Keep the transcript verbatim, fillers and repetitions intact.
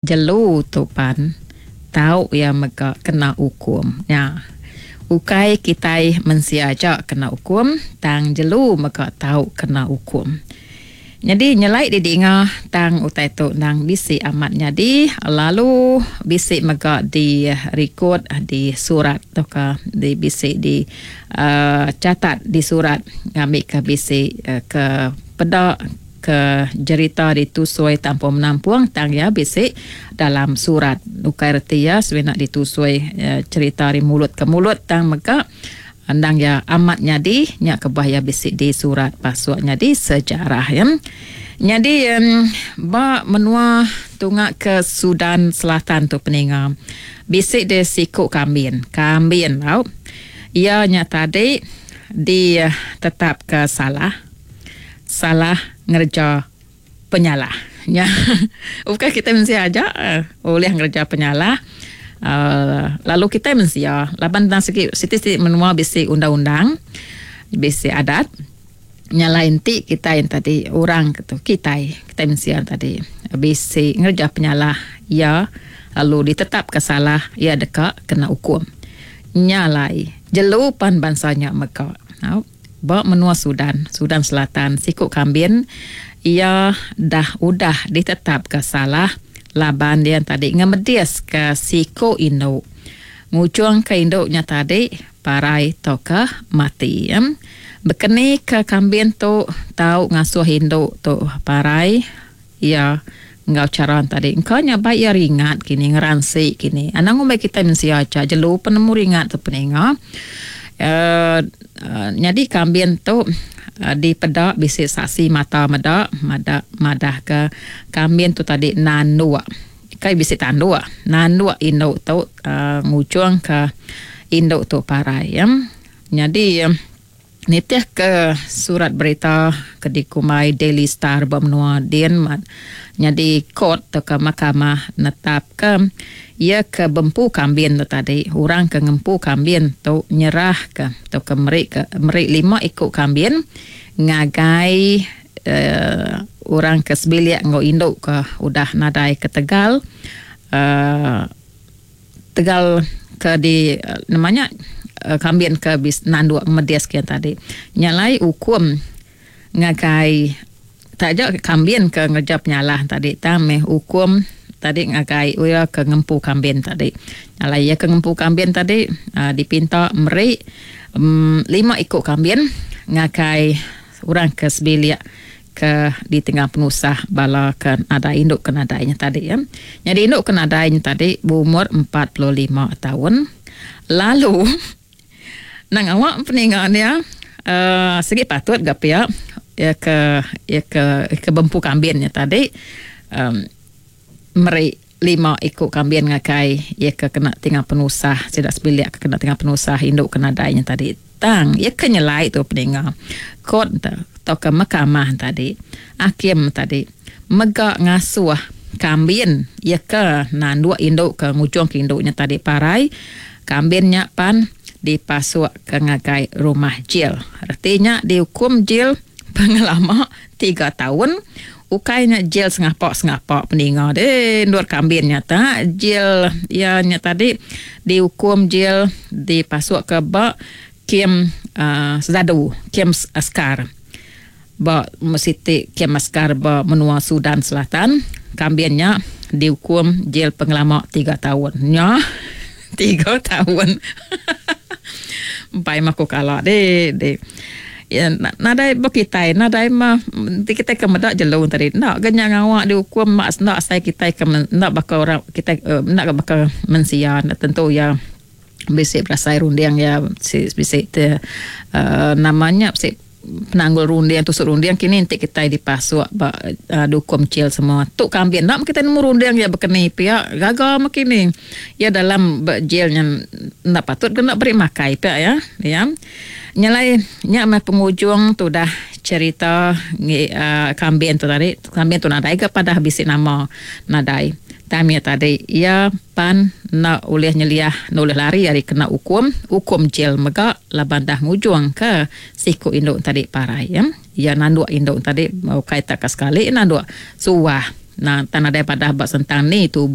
Jelu tu pan tau iya mega kena ukum nya. Ukai kitai mensia aja kena ukum tang jelu mega tau kena ukum. Nyadi nyelai didinga tang utai tu endang bisi amat nyadi lalu bisi mega dirikod di surat tauka di bisi di uhh catat di surat ngambika bisi ke peda ke jerita ditusui tampung menampung tang iya bisi dalam surat. Ukai reti iya semina ditusui cherita ari mulut ke mulut tang mega endang iya amat nyadi nya kebuah iya bisi di surat pasuk nyadi sejarah iya. Nyadi ba menua tunga ke Sudan Selatan tu peninga bisi deh siku kambin. Kambin tau iya nya tadi ditetapka salah. Salah ngereja penyalah. Nya ukai kitai mensia aja ulih ngereja penyalah uhh lalu kitai mensia laban tang sigi siti-siti menua bisi undang-undang bisi adat. Nya alai enti kitai tadi orang tu kitai kitai mensia tadi bisi ngereja penyalah iya lalu ditetapka salah iya deka kena ukum. Nya alai jelu pan bansa nya mega. Au. Ba menua Sudan, Sudan Selatan, siku kambin iya dah udah ditetapka salah laban iya tadi ngemediska siku indu ngujungka indu nya tadi parai tauka mati. Bekeni ke kambin tu tau ngasuh indu tu parai iya enggau chara tadi. Engka nya bai iya ringat kini ngeransi kini. Anang ngumbai kitai mensia aja jelu penemu ringat tu peninga. Uhh nyadi kambin tu dipeda bisi saksi mata meda mada madahka kambin tu tadi nanduk. Kai bisi tanduk nanduk indu tu uhh ngujungka indu tu parai. Nyadi nitihka surat berita ke dikumbai Daily Star ba menua din nyadi court tauka mahkamah netapka iya ke bempu kambin tu tadi orang ke ngempu kambin tu nyerahka tauka meri ke meri lima iku kambin ngagai uhh orang ke sebilik enggau indu ke udah nadai ketegal uhh tegal ke di nama nya kambin ke bisi nanduk ngemedis ke tadi. Nya alai ukum ngagai taja kambin ke ngereja penyalah tadi tang meh ukum tadi ngagai iya ke ngempu kambin tadi. Nya alai iya ke ngempu kambin tadi uhh dipinta meri uhh lima iku kambin ngagai orang ke sebilik ke ditengah penusah bala ke nadai indu ke nadai nya tadi. Nyadi indu ke nadai nya tadi beumur empat puluh lima taun lalu nang awak peninga dia uhh sigi patut ga pia iya ke iya ke ke bempu kambin nya tadi uhh meri lima iku kambin ngagai iya ke kena tinggal penusah sida sebilik ke kena tinggal penusah indu ke nadai nya tadi. Tang iya ke nyelai tu peninga court tauka mahkamah tadi hakim tadi mega ngasuh kambin iya ke nanduk indu ke ngujung ke indu nya tadi parai kambin nya pan dipasuk ke ngagai rumah jil. Reti nya diukum jil pengelama tiga taun. Ukai nya jil sengapa-sengapa peninga deh endur kambin nya ta jil iya nya tadi diukum jil dipasuk ke ba kem uhh sedadu kem askar ba siti kem askar ba menua Sudan Selatan kambin nya diukum jil pengelama tiga taun. Nya tiga taun empai meh aku kala deh deh. Nadai ba kitai nadai mah enti kitai ke meda jelu tadi enda ga nya ngawa diukum mak enda asai kitai ke enda baka orang kitai enda ga baka mensia enda tentu iya bisi berasai runding iya bisi te uhh nama nya bisi penanggul runding tusut runding kini enti kitai dipasuk ba diukum jil semua. Tu kambin enda meh kitai nemu runding iya baka ni pia gaga meh kini iya dalam ba jil nya enda patut ke enda beri makai pia iya. Iya. Nya alai nya meh pengujung tudah cherita ngi uhh kambin tu tadi. Kambin tu nadai ga padah bisi nama nadai. Tang mih tadi iya pan enda ulih nyeliah enda ulih lari ari kena ukum. Ukum jil mega laban dah ngujung ke siku indu tadi parai. Iya nanduk indu tadi ukai tak ka sekali nanduk suah Tang nadai padah ba sentang ni tubuh.